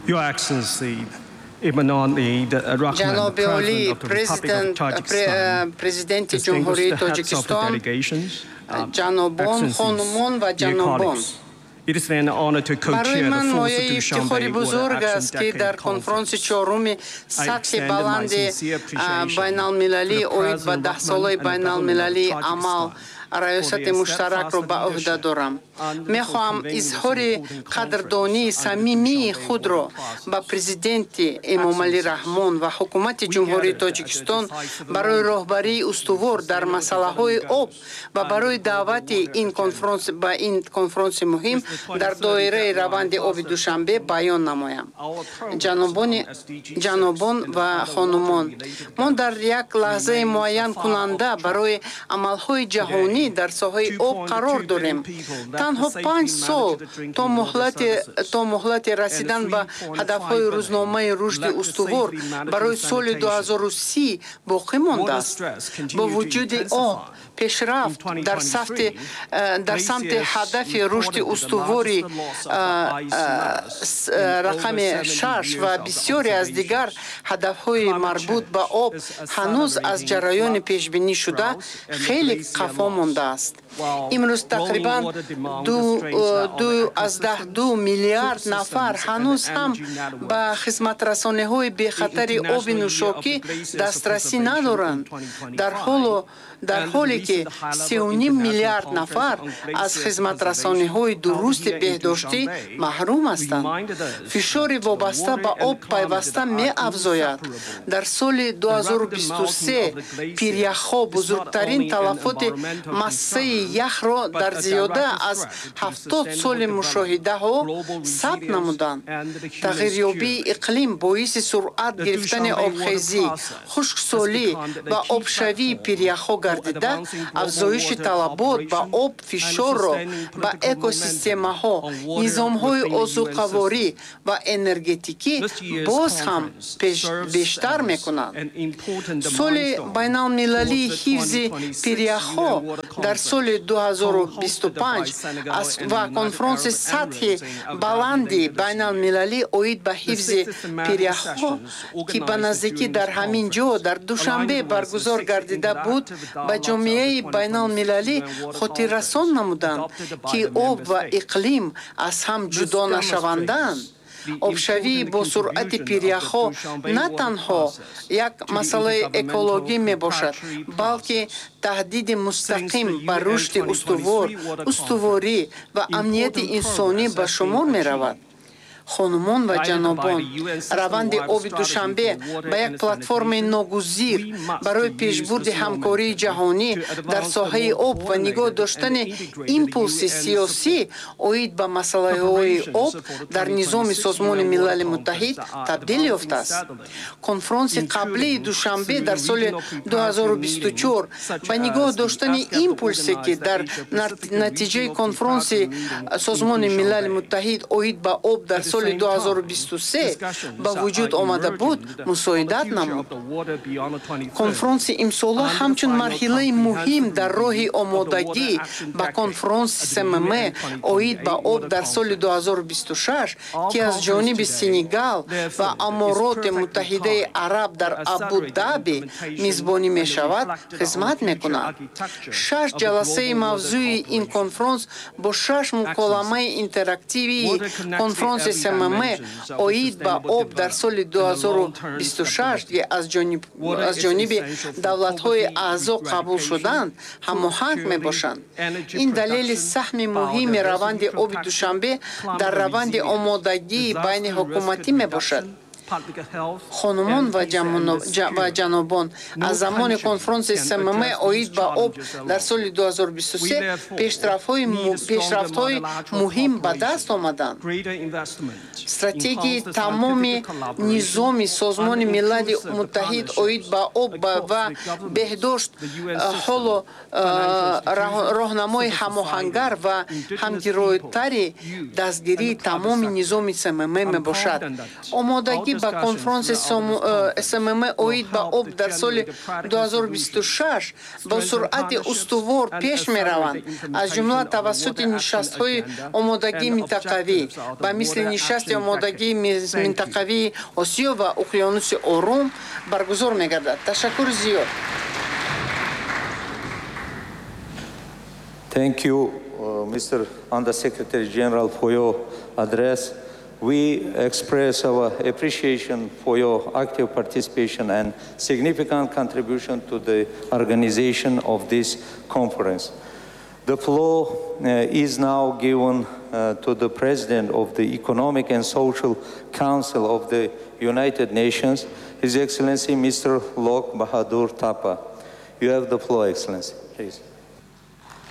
Your Excellency, Emomali Rahmon, Ҷаноби олӣ, President of the Republic of Tajikistan, президенти distinguished Ҷумҳурии heads of the Тоҷикистон, delegations, ҷанобон, Excellencies, хонумон ва dear ҷанобон. colleagues, it is an honor to Барои co-chair the ман fourth мояи ифтихори Dushanbe Water бузург Action аст, ки дар Decade конфронси Conference. чоруми I сатҳи extend my баланди sincere appreciation байналмилалӣ to the оид ба President даҳсолаи Rahmon and the government of байналмилалии амал Tajikistan раёсати муштаракро ба ӯҳда дорам. Мехоҳам изҳори қадрдонии самимии худро ба президенти Эмомалӣ Раҳмон ва ҳукумати Ҷумҳурии Тоҷикистон барои роҳбарии устувор дар масъалаҳои об ва барои даъвати ин конфронс ба ин конфронси муҳим дар доираи раванди оби Душанбе баён намоям. Ҷанобон ва хонумон, мо дар як лаҳзаи муайянкунанда барои амалҳои ҷаҳонӣ дар соҳаи об қарор дорем. Танҳо 5 сол то муҳлати расидан ба ҳадафҳои рӯзномаи рушди устувор барои соли 2030 боқӣ мондааст. Бо вуҷуди он, пешрафт дар самти ҳадафи рушди устувори рақами 6 ва бисёре аз дигар ҳадафҳои марбут ба об ҳанӯз аз ҷараёни пешбинишуда хеле қафо мондааст. Имрӯз тақрибан 2,2 миллиард нафар ҳанӯз ҳам ба хизматрасониҳои бехатари оби нӯшокӣ дастрасӣ надоранд, дар ҳоле ки 3,5 миллиард нафар аз хизматрасониҳои дурусти беҳдоштӣ маҳрум ҳастанд. Фишори вобаста ба об пайваста меафзояд. Дар соли 2023 пиряхҳо бузургтарин талафоти массаи яхро дар зиёда аз 70 соли мушоҳидаҳо сабт намуданд. Тағйирёбии иқлим боиси суръат гирифтани обхезӣ, хушксолӣ ва обшавии пиряхҳо гардида, афзоиши талабот ба об фишорро ба экосистемаҳо, низомҳои озуқаворӣ ва энергетикӣ боз ҳам бештар мекунад. Соли байналмилалии ҳифзи пиряхҳо дар соли 2025 ва конфронси сатҳи баланди байналмилалӣ оид ба ҳифзи пиряхҳо, ки ба наздикӣ дар ҳамин ҷо, дар Душанбе, баргузор гардида буд, ба ҷомеаи байналмилалӣ хотиррасон намуданд, ки об ва иқлим аз ҳам ҷудо нашаванданд. Обшавии босуръати пиряхҳо на танҳо як масъалаи экологӣ мебошад, балки таҳдиди мустақим ба рушди устувор, устуворӣ ва амнияти инсонӣ ба шумор меравад. Хонумон ва ҷанобон, раванди оби Душанбе ба як платформаи ногузир барои пешбурди ҳамкории ҷаҳонӣ дар соҳаи об ва нигоҳ доштани импулси сиёсӣ оид ба масъалаҳои об дар низоми Созмони Милали Муттаҳид табдил ёфтааст. Конфронси қаблии Душанбе дар соли 2024 ба нигоҳ доштани импулсе, ки дар натиҷаи конфронси Созмони Милали Муттаҳид оид ба об дар соли 2023 ба вуҷуд омада буд, мусоидат намуд. Конфронси имсола ҳамчун марҳилаи муҳим дар роҳи омодагӣ ба конфронси СММ оид ба об дар соли 2026, ки аз ҷониби Сенегал ва Амороти Муттаҳидаи Араб дар Абу-Даби мизбонӣ мешавад, хизмат мекунад. Шаш ҷаласаи мавзӯи ин конфронс бо шаш муколамаи интерактивии конфронси СММ оид ба об дар соли 2026, ки аз ҷониби давлатҳои аъзо қабул шуданд, ҳамоҳанг мебошанд. Ин далели саҳми муҳими раванди оби Душанбе дар раванди омодагии байниҳукуматӣ мебошад. Хонумон ва ҷанобон, аз замони конфронси СММ оид ба об дар соли 2023 пешрафтҳои муҳим ба даст омаданд. Стратегияи тамоми низоми Созмони Милали Муттаҳид оид ба об ва беҳдошт ҳоло роҳнамои ҳамоҳангар ва ҳамгиройтари дастгирии тамоми низоми СММ мебошад. Омодагӣ Ба конфронси СММ оид ба об дар соли 2026 бо суръати устувор пеш мераванд, аз ҷумла тавассути нишастҳои омодагии минтақавӣ, ба мисли нишасти омодагии минтақавии Осиё ва Уқёнуси Ором баргузор мегардад. Ташаккури зиёд. Thank you, Mr. Under Secretary General, for your address. We express our appreciation for your active participation and significant contribution to the organization of this conference. The floor is now given to the President of the Economic and Social Council of the United Nations, His Excellency Mr. Lok Bahadur Thapa. You have the floor, Excellency, please.